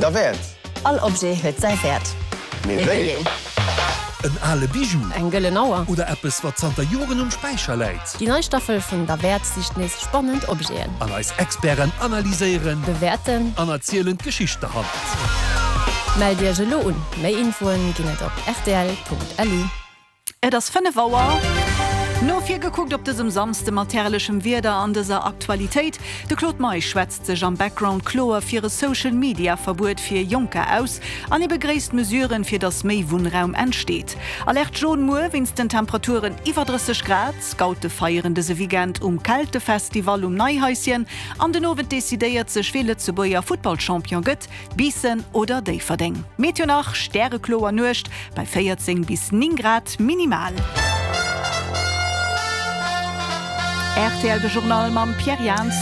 Derwäert! All Objet huet säi Wäert. Mee wéi een? En ale Bijou. Eng gëllen Auer. Oder eppes, wat zanter Joren um Späicher läit. Déi nei Staffel vun Derwäert sicht nees spannend Objeten. An eis Experten analyséieren. Bewäerten. An erzielen d'Geschicht derhannert. Mellt Iech elo un! Méi Infoen ginn et op rtl.lu. Et ass 5 Auer. No vir gekuckt op dësem Samsde mat herrlechem Wieder an dëser Aktualitéit, De Claude Meisch schwätzt sech am Background kloer fir e Social Media Verbuet fir Jonker aus an hie begréisst Mesuren, fir datt méi Wunnraum entsteet. Alerte jaune muer wéinst den Temperaturen iwwer 30 Grad. Scoute feieren dëse Weekend um Keltefestival um Neihaischen an den Owend decidéiert sech wee Lëtzebuerger Futtballchampion gëtt. Biissen oder Déifferdeng. Meteo nach, Stärekloer Nuecht bei 14 bis 9 Grad minimal. Rtl de Journal mam Pierre Jans.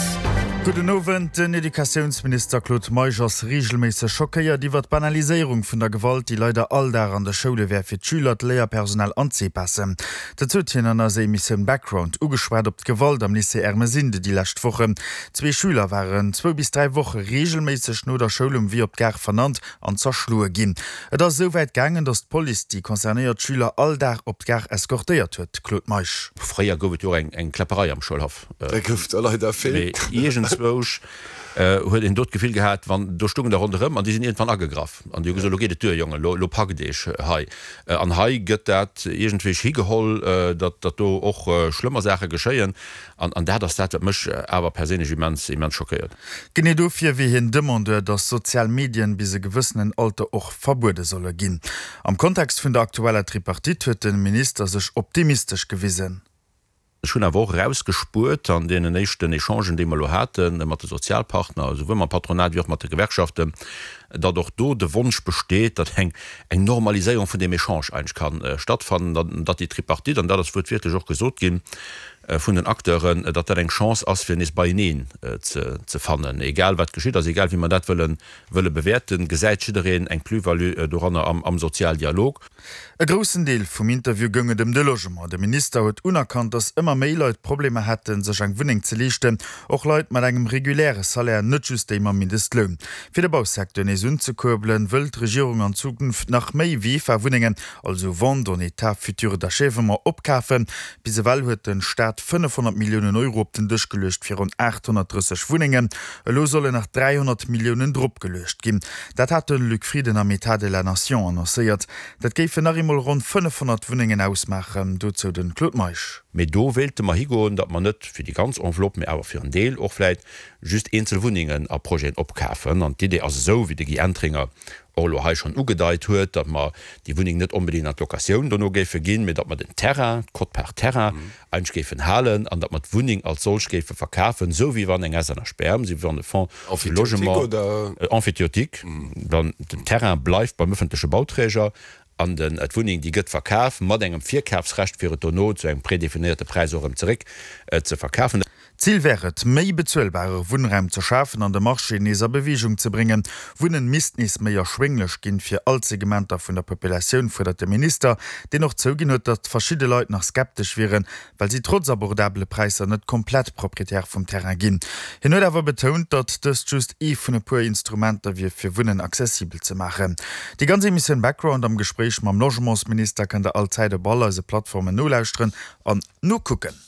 Gudden Owend. Den Educatiounsminister Claude Meisch ass reegelméisseg schockéiert iwwer d'Banaliséierung vun der Gewalt, déi leider all Dag an de Schoule wär fir d'Schüler, d'Léierpersonal an d'Sepasen. Dat huet hien an eiser Emissioun Background ugeschwat op d'Gewalt am Lycée Ermesinde déi lescht Wochen. Zwee Schüler waren zwou bis 3 Woche reegelméisseg no der Schoul um Wee op d'Gare vernannt an zerschloe ginn. Et ass esou wäit gaangen, datt d'Police déi concernéiert Schüler all Dag op d'Gare eskortéiert huet. Claude Meisch. Fréier gouf et jo och eng Kläpperei am Schoulhaff. Da gouf der leider vill. Mee iergendzwousch huet een do d'Gefill gehat, wann do stungen der ronderëm an déi sinn iergendwann agegraff an déi hu gesot, elo geet et duer, Jongen, elo packt eech hei. An hei gëtt dat iergendwéi higeholl, datt do och schlëmmer Saache geschéien. An dat ass dat, wat mech awer perséinlech immens, immens schockéiert. Genee dofir wier hien Demandeur, datt sozial Medien bis e gewëssenen Alter och verbuede solle ginn. Am Kontext vun der aktueller Tripartite huet de Minister sech optimistesch gewisen. Ech hunn awer och erausgespuert an deenen éischten Echangen, déi mer elo hate mat de Sozialpartner, esouwuel mam Patronat wéi och mat de Gewerkschaften, datt och do de Wonsch besteet, datt eng eng Normaliséierung vun deem Echange eigentlech ka stattfannen, datt déi Tripartite, an dat ass wuertwiertlech och gesot ginn vun den Acteuren, datt dat eng Chance ass, fir nees beieneen ze fannen. Egal wat geschitt ass, egal wéi mer dat wëlle bewäerten, gesäit jiddereen eng Plus-value doranner am Sozialdialog. E groussen Deel vum Interview goung et ëm de Logement. De Minister huet unerkannt, datt ëmmer méi Leit Problemer hätten, sech eng Wunneng ze leeschten, och Leit mat engem reguläre Salaire, net just déi mam Mindestloun. Fir de Bausecteur nees unzekuerbelen, wëll d'Regierung an Zukunft nach méi VEFA-Wunnengen, also Vente en état futur d'achèvement, opkafen. Bis ewell huet de Staat 500 Milliounen Euro op den Dësch geluecht fir ronn 830 Wunnengen. Elo sollen nach 300 Milliounen dropgeluecht ginn. Dat hat de Luc Frieden am Etat de la Nation annoncéiert. Dat géifen nach eemol ronn 500 Wunnengen ausmaachen. Dozou de Claude Meisch. Mee do wéilte mer higoen, datt mer net fir déi ganz Enveloppe, mee awer fir en Deel och vläicht just eenzel Wunnengen a Projeten opkafen. An d'Idee ass esou, wéi de Guy Entringer och elo hei schonn ugedeit huet, datt mer déi Wunneng net onbedéngt an d'Locatioun dono géife ginn, mee datt mer den Terrain, d'Quote-part Terrain, eigentlech géifen halen an datt mer d'Wunneng als solch géife verkafen, esou wéi wann eng SNHBM, esou wéi wann e Fonds de logement emphytéotique, dann den Terrain bleift beim öffentleche Bauträger an den d'Wunneng déi gëtt verkaf mat engem Virkafsrecht fir et dono zu engem prédéfinéierte Präis och erëm zeréck ze verkafen. D'Zil wär et, méi bezuelbare Wunnraum ze schafen an de Marché nees a Beweegung ze bréngen. Wunnen misst nees méi erschwénglech ginn, fir all d'Segmenter vun der Populatioun, fuerdert de Minister, deen och zouginn huet, datt verschidde Leit nach skeptesch wieren, well si trotz abordabele Präisser net komplett Proprietär vum Terrain ginn. Hien huet awer betount, datt dëst just ee vun e puer Instrumenter wier, fir Wunnen accessibel ze maachen. Déi ganz Emissioun Background am Gespréich mam Logementsminister kënnt der all Zäit op all eise Plattformen nolauschteren an nokucken.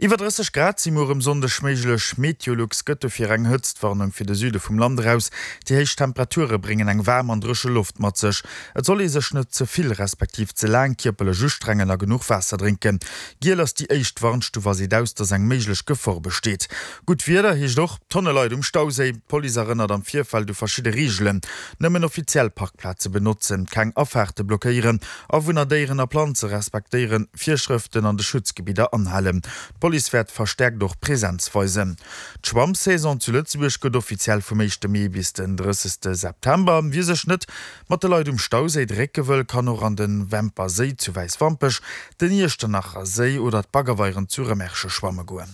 Iwwer 30 Grad si muer um Sonndeg méiglech. Meteolux gëtt dofir eng Hëtztwarnung fir de Süde vum Land eraus. Déi héich Temperature bréngen eng waarm an dréche Loft mat sech. Et soll ee sech net ze vill respektiv ze laang kierperlech ustrengen a genuch Waasser drénken. Giel ass déi éischt Warnstuf a seet aus, dass eng méiglech Gefor besteet. Gutt Wieder heescht och Tonne Leit um Stauséi. D'Police erënnert am Virfeld u verschidde Reegelen, Nëmmen offiziell Parkplaze benotzen, keng Afaarte blockéieren, Awunner, Déieren a Planze respektéieren, Virschrëften an de Schutzgebidder anhalen. D'Police wäert verstäerkt och Präsenz weisen. D'Schwammsaison zu Lëtzebuerg gëtt offiziell vum éischte Mee bis den 30 September. Wie sech net mat de Leit um Stauséi drécke wëll, kann och an de Wämper Séi zu Wäiswampech, den Iechternacher Séi oder d'Baggerweieren zu Remerschen schwamme goen.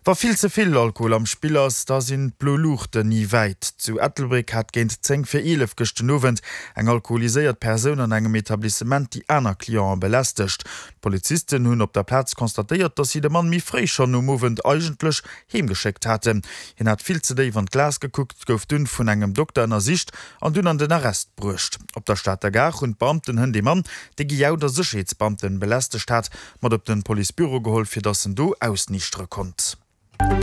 Wa vill ze vill Alkohol am Spill ass, da sinn d'blo Luuchten ni wäit. Zu Ettelbréck hat géint 10 vir 11 gëschten Owend eng alkoholiséiert Persoun an engem Etablissement déi aner Clienten belästegt. D'Polizisten hunn op der Plaz constatéiert, dass si de Mann méi fréi schonn um Owend eigentlech heemgeschéckt haten. Hien hat vill ze déif an d'Glas gekuckt, gouf dunn vun engem Dokter ënnersicht an dunn an den Arrest bruecht. Op der Stater Gare hunn d'Beamten hënt ee Mann, dee gejaut a Sécherheetsbeamten belästegt hat, mat op den Policebüro geholl, fir dass en do ausniichtere konnt.